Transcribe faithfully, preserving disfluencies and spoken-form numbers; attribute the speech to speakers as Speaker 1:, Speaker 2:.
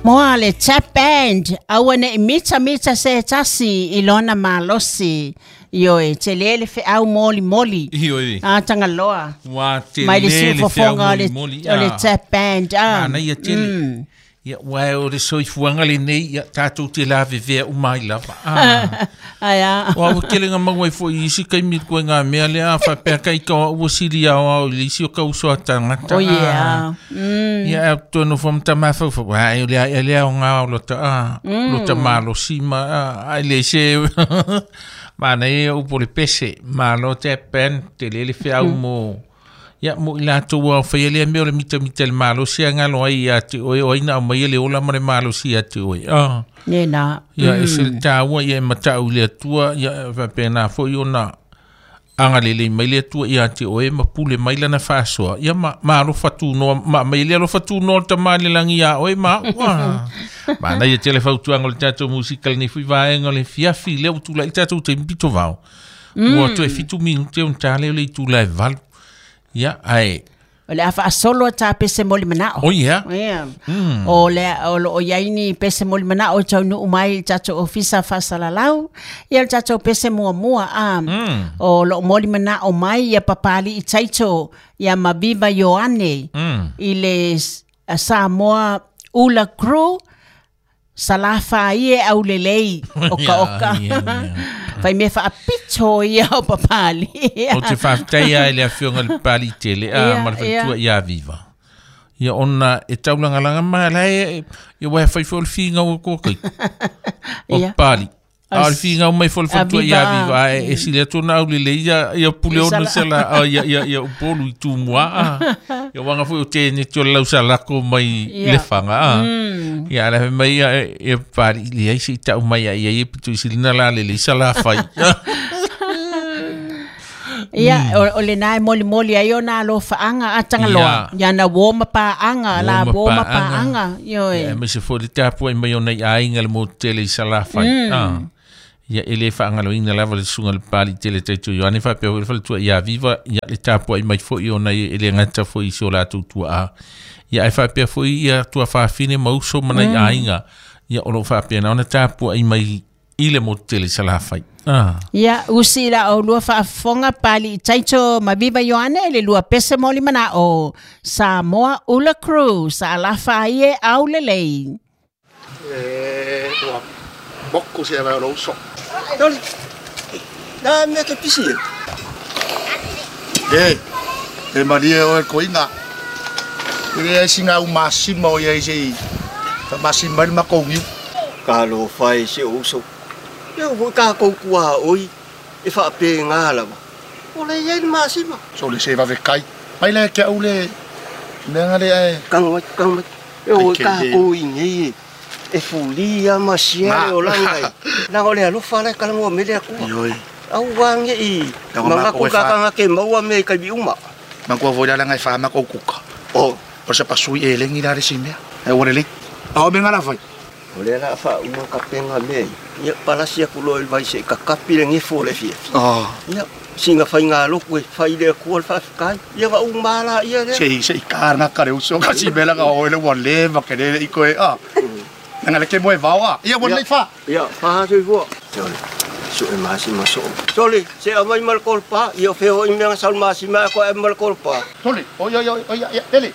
Speaker 1: Moa le tap band aua ne mita mita se tasi i lona malosi. Ioe, te lele fe au moli moli.
Speaker 2: Ioe.
Speaker 1: A tangaloa.
Speaker 2: Wa te
Speaker 1: Mai le
Speaker 2: lele feau
Speaker 1: siufofoga o
Speaker 2: moli
Speaker 1: le,
Speaker 2: moli.
Speaker 1: o le
Speaker 2: Ah.
Speaker 1: tap band. Ah.
Speaker 2: Mana ia tele.
Speaker 1: Mm.
Speaker 2: Ia, ua o le soifuaga lenei, ia tatou te lavevea uma ai lava. Ah.
Speaker 1: Ai a.
Speaker 2: O au kele ngā maua i fo i isi kaimi koe ngā mea lea, a whapea kai ka ua sili ao ao i le isi o ka uso a tangata.
Speaker 1: Oh yeah. Mm.
Speaker 2: Ia, au tō no whamta mawhau wha, wā, e lea, e lea o ngā o lota, ah, lota malo sima, ah, ai le se, mana e upo le pese, malo te pen, te lele whiau mo, ia, mo i lātou au whai lea mea o le mita mita le malo si a ngalo ai ia te oe, o aina au mai le ola ma le malo si a te oe. Ah.
Speaker 1: Ne na.
Speaker 2: Ia, e se le tāua, ia e matau i le atua, ia e whapena foi ona anga lele mai le atua ia te oe, ma pule mai lana whasoa. Ia ma, ma alo whatunoa, ma mai le alo whatunoa ta ma le langi a oe, ma, ua. Ma na ia tele fautuanga o le tātou musikal ni fui vaenga o le fiafi, lea utula i tātou te mpito vao. Ua toe fitu minute o ntale o le itula e valu. Ia, ai.
Speaker 1: O le afa asolo ta pese moli manao.
Speaker 2: O ia.
Speaker 1: Yeah. Mm. O le o lo o iaini pese moli manao tau nu mai tato ofisa fasalalau. Ia tato pese mua mua a.
Speaker 2: Mm.
Speaker 1: O lo moli manao mai ia papali i taito ia Maviva Ioane.
Speaker 2: Mm.
Speaker 1: I le Samoa Ula Crew Salafa ie au lelei oka oka.
Speaker 2: Yeah, yeah, yeah.
Speaker 1: Fai me whaapito ia o papali.
Speaker 2: O te whaftaia e le awhionga le pali tele, a
Speaker 1: Ia,
Speaker 2: ma le whaitua
Speaker 1: ia.
Speaker 2: ia viva. Ia ona e taulangalanga mai lai, ia wai whai fo le whinga o kōkai. O
Speaker 1: Ia.
Speaker 2: pali. A le
Speaker 1: As-
Speaker 2: whinga o mai fo le whaitua ia
Speaker 1: Aviva.
Speaker 2: viva. A e sile atu na au lele, ia, ia pule
Speaker 1: I
Speaker 2: ono
Speaker 1: sala.
Speaker 2: sela, a, ia, ia, ia upolu i tūmua. A. Ia wanga fo o tēne tio lau salako mai
Speaker 1: Ia.
Speaker 2: le whanga. A.
Speaker 1: Mm.
Speaker 2: Ia ala mai ia e pali le ai se i tau mai ia ia pitu i silina la lele i sala whai.
Speaker 1: Ia, o, o le nai moli moli ai o nā lo whaanga a tangaloa.
Speaker 2: Ia.
Speaker 1: Ia na woma paanga, la
Speaker 2: Woma
Speaker 1: woma
Speaker 2: paanga.
Speaker 1: paanga. Ioi.
Speaker 2: Ia, me se fo le tāpua i mai o nei ainga le mō tele i sala whai. Ah. Ia ele whaangaloina lava le sunga le pali tele taitu Ioane whapea le whaletua ia viva ia le tāpua i mai fo i o nei ele ngata fo i si o lātou tua a. Ia ai whapea fo i ia tua whawhine mauso mana i ainga. Ia o lo whapea na ona tāpua i mai i le mō tele i sala whai. Ah.
Speaker 1: Ia, usi la o lua whaafonga pali i taito Maviva Ioane le lua pese moli mana o Samoa Ula Crew sa alafa ie au lelei.
Speaker 3: E, ua mokku siellä on uso.
Speaker 4: Toli. Nā mea ke pisi e.
Speaker 3: E, e maria o e koinga. E le ai singa u masima o ia i sei. Ka masima ni makongiu.
Speaker 4: Ka lo whai se uso. Ia ua ka koukua oi. E whaape ngā lawa. O le ia ni masima.
Speaker 3: So le se vave kai. Mai le kia ule. Mea ngale e.
Speaker 4: Kanga mai, kanga mai. E o
Speaker 3: Ai, ke
Speaker 4: ka
Speaker 3: le.
Speaker 4: kou i nei e. E fulia ma sia
Speaker 3: Ma.
Speaker 4: le o langai. Nanga o le alofa le kalangoa mele akua.
Speaker 3: Ioi.
Speaker 4: Au wange i.
Speaker 3: Tau
Speaker 4: Manga
Speaker 3: mako e
Speaker 4: ku kakanga ke maua me kai bi uma.
Speaker 3: Mangua voi la langai wha makou kuka.
Speaker 4: O.
Speaker 3: O se pasui e lengi la resi mea. E ua lele. Ao me ngala whai.
Speaker 4: O le la wha uma ka penga me. Ia palasi aku lo il vai se kakapi le ngefo le fia.
Speaker 3: Oh.
Speaker 4: Ia singa whai ngā loku e whai le akua le whawhikai. Ia wa umala ia le.
Speaker 3: Se se i kāna kare uso ka si mela ka oe le ua leva ke lele i koe. Ah. Nanga le ke moe vao a. Ia ua
Speaker 4: Ia.
Speaker 3: lei wha.
Speaker 4: Ia whaha sui fua. Sole, so e masima so. Sole, se amai mal kolpa, ia wheho i mea saul masima ko e mal kolpa.
Speaker 3: Tole. Oi oi oi oi ia lele.